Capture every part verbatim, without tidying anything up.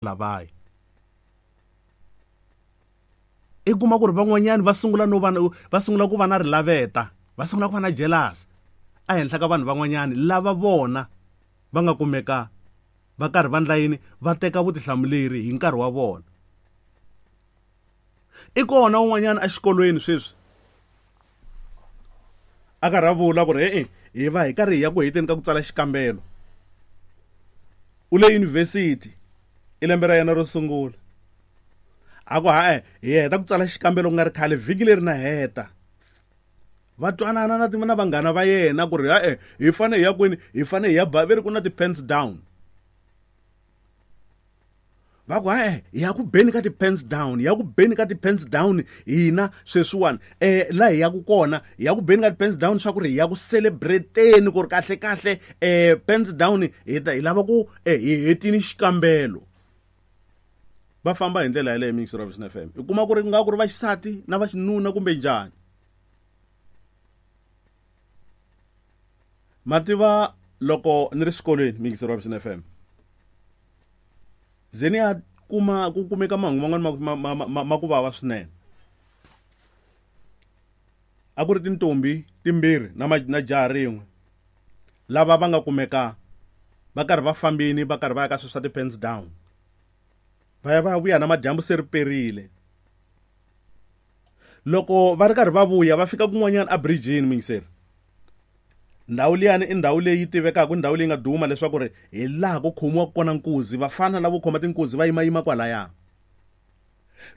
Lavaya i kuma ku ri van'wanyani va sungula no va va sungula ku va na rilaveta, va sungula ku va na jealous ehenhla ka vanhu van'wanyani lava vona va nga kumeka va karhi va ndla yini, va teka vutihlamuleri hi nkarhi wa vona. I kona un'wanyana exikolweni sweswi a karhi a vula ku ri e-e hi va hi karhi hi ya ku heteni ka ku tsala xikambelo, u le yunivhesiti i lembe ra yena ro sungula, a ku ha-e hi heta ku tsala xikambelo ku nga ri khale vhiki leri na heta. Va twanana na na vanghana va yena ku ri ha-e hi fanele hi ya kwini, hi fanele hi ya ba, ve ri ku na ti-pens down. Va ku ha-e hi ya ku beni ka ti-pens down, hi ya ku beni ka ti-pens down hina sweswiwani um laha hi yaku kona hi ya ku beni ka ti-pens down swa ku ri hi ya ku celebrate-ni ku ri kahle kahle um pens down hi ta hi lava ku hi hetini xikambelo. Va famba hi ndlela yaleyo Mix Robinson F M, i kuma ku ri nga ku ri vaxisati na vaxinuna kumbe njhani. Mativa loko ni ri xikolweni Mix Robinson F M, ze ni ya kuma ku kumeka mahungu man'wana ma, ma, ma, ma, ma ku vava swinene. A ku ri tintombi timbirhi na, na jaha rin'we lava va nga kumeka va karhi va fambini va karhi va ya ka swilo swa ti-pens down, va ya va vuya na madyambu se ri perile. Loko va ri karhi va vuya va fika kun'wanyana a bridge-ini mingiseri, ndhawu liyani i ndhawu leyi tivekaka, ndhawu leyi nga duma leswaku ri hi laha ku khomiwaka kona nkuzi, vafana lavo khoma tinkuzi va yimayima kwalaya.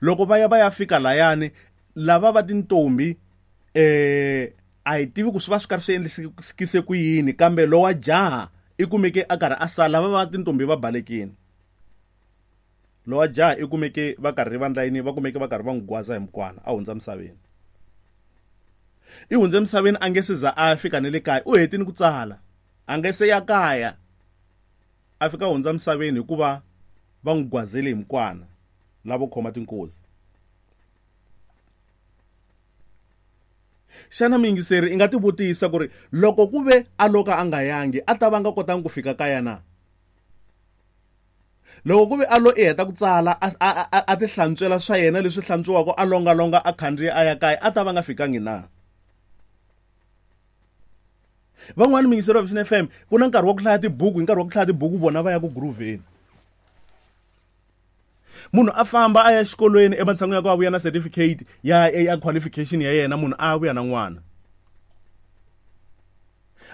Loko va ya va ya fika layani, lava va tintombi eh a hi tivi ku swi va swi karhi swi endlisekise ku yini, kambe lowa jaha i kumeke a karhi a sala, lava va tintombi va balekile. Lowa jaha i kumeke va karhi va ndla yini, va kumeke va karhi va n'wi gwaza hi mukwana a hundza misaveni. I hundze misaveni a nge se za a fika ni le kaya, u hetini ku tsala a nge se ya kaya, a fika hundza misaveni hikuva va n'wi gwazele hi mukwana lavo khoma tinkozi. Xana miyingiseri i nga tivutisa ku ri loko ku ve a loka a nga yangi a ta va nga kotanga ku fika kaya na? Loko ku ve a lo i heta ku tsala a, a, a, a ti hlantswela swa yena leswi hlantswiwaka, a longalonga a khandziya a ya kaya, a ta va nga fikangi na? Van'wani miyingiseri wa Vision F M ku na nkarhi wa ku hlaya tibuku, hi nkarhi wa ku hlaya tibuku vona va ya ku groove-eni. Munhu a famba a ya exikolweni ematshan'wini ya ku a vuya na certificate ya, ya qualification ya yena, munhu a vuya na n'wana.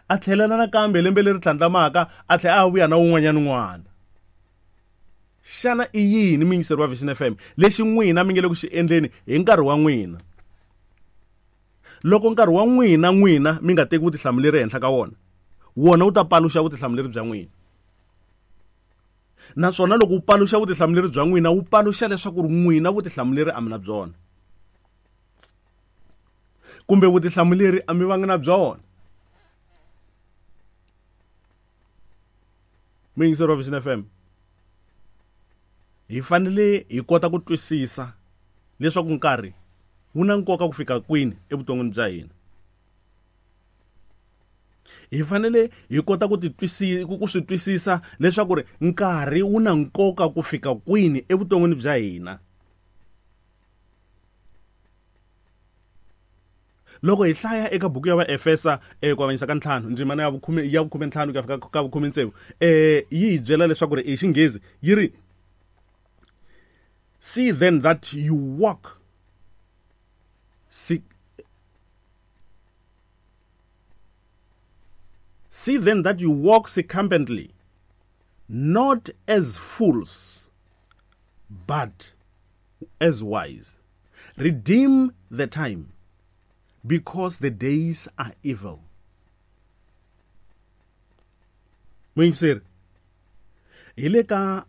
A tlhelela nakambe lembe leri tlhandlamaka a tlhela a vuya na wun'wanyana n'wana. Xana i yini miyingiseri wa Vision F M lexi n'wina mi nge le ku xi endleni hi nkarhi wa n'wina? Loko nkarhi wa n'wina n'wina mi nga teki vutihlamuleri ehenhla ka wona, wona wu ta paluxa vutihlamuleri bya n'wina. Naswona loko wu paluxa vutihlamuleri bya n'wina, wu paluxa leswaku ri n'wina vutihlamuleri a mi na byona, kumbe vutihlamuleri a mi vangi na byona. Muyingiseri wa Vision F M, hi fanele hi kota ku twisisa leswaku nkarhi wu na nkoka ku fika kwini evuton'wini bya hina. Hi fanele hi kota ku titwisi-, ku swi twisisa leswaku ri nkarhi wu na nkoka ku fika kwini evuton'wini bya hina. Loko hi hlaya eka buku ya Vaefesa, eh, ku avanyisa ka ntlhanu, ndzimana ya vukhume, ya vukhume ntlhanu ku ya fika ka vukhume tsevu, eh, yi hi byela leswaku ri hi Xinghezi yi ri, see then that you walk see, see then that you walk circumspectly, not as fools, but as wise. Redeem the time, because the days are evil. Muyingiseri, hi le ka